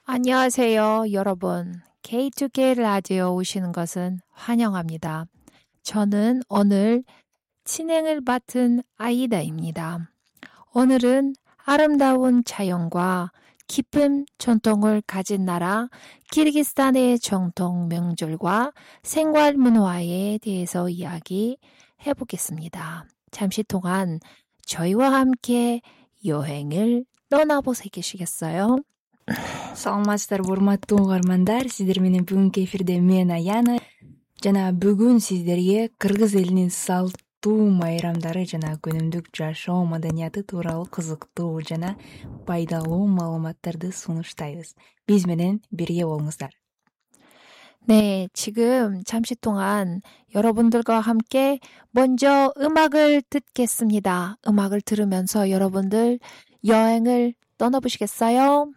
안녕하세요, 여러분. K2K 라디오 오시는 것은 환영합니다. 저는 오늘 진행을 맡은 아이다입니다. 오늘은 아름다운 자연과 깊은 전통을 가진 나라 키르기스탄의 전통 명절과 생활 문화에 대해서 이야기해 보겠습니다. 잠시 동안 저희와 함께 여행을 떠나보시겠어요? Саламатсыздарбы, урматтуу угармандар. Сиздер менен бүгүнкү эфирде мен Аяна жана бүгүн сиздерге кыргыз элинин салттуу майрамдары жана күнүмдүк жашоо маданияты тууралуу кызыктуу жана пайдалуу маалыматтарды сунуштайбыз. Биз менен бирге болуңуздар. 네, 지금 잠시 동안 여러분들과 함께 먼저 음악을 듣겠습니다. 음악을 들으면서 여러분들 여행을 떠나보시겠어요?